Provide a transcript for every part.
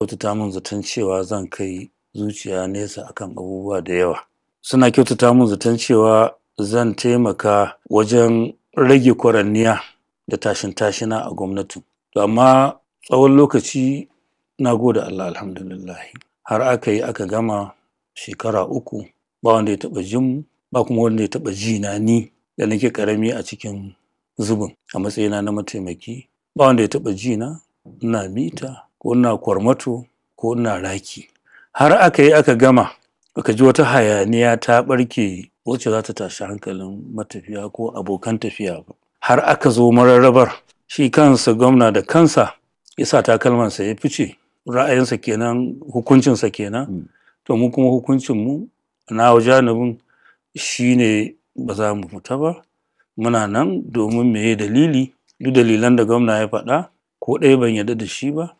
Kyautata min zaton cewa zan kai zuciya nesa akan abubuwa da yawa. Suna kyautata min zaton cewa zan taimaka wajen rage kwaranniya da tashin-tashina a gwamnatin. To amma tsawon lokaci, na gode Allah, alhamdulillahi, har aka yi aka gama shekara 3, ba wanda ya taɓa jin mu, ba kuma wanda ya taɓa ji na, ni da nake ƙarami a cikin zubin a matsayina na mataimaki, ba wanda ya taɓa ji na ina mita ko ina kwarmato ko ina raki. Har aka yi aka gama, baka ji wata hayaniya ta ɓarke wacce za ta tashi hankalin matafiya ko abokan tafiya ba. Har aka zo mararrabar, shi kansa gwamna da kansa ya sa takalmansa ya fice. Ra'ayinsa kenan, hukuncinsa kenan. To mu kuma hukuncinmu nawa janibin shine ba za mu fita ba, muna nan. Domin meye dalili? Duk dalilan da gwamna ya faɗa, ko ɗaya ban yarda da shi ba,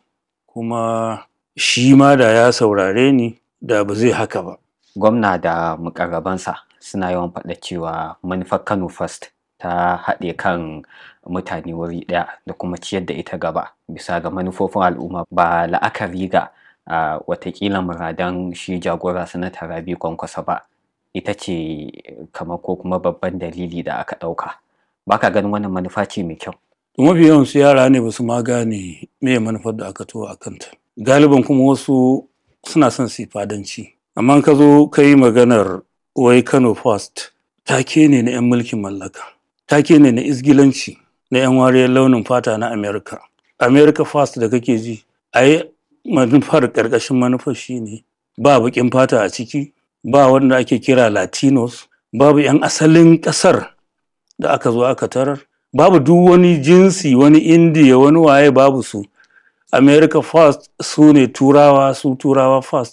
kuma shi ma da ya saurare ni da ba zai haka ba. Gwamna da muƙarrabansa suna yawan faɗa cewa manufar Kano First ta haɗe kan mutane wuri ɗaya da kuma ciyar da ita gaba bisa ga manufofin al'umma, ba la'akari ga watakila muradan shi jagora Sanata Rabi'u Kwankwaso ba, ita ce kamar ko kuma babban dalili da aka ɗauka. Ba ka ganin wannan manufa ce mai kyau? Mafi yawansu yara ne, ba su ma gane meye manufar da aka taho a kanta. Galiban kuma wasu suna son su yi fadanci. Amma in ka zo ka yi maganar wai Kano First, take ne na 'yan mulkin mallaka, take ne na izgilanci na 'yan wariyar launin fata na America. America First da kake ji, ai manufar, ƙarƙashin manufar shine ba baƙin fata a ciki, ba wanda ake kira Latinos, babu 'yan asalin ƙasar da aka zo aka tarar, babu duk wani jinsi, wani Indiya, wani waye, babu su. America First su ne Turawa, su Turawa First.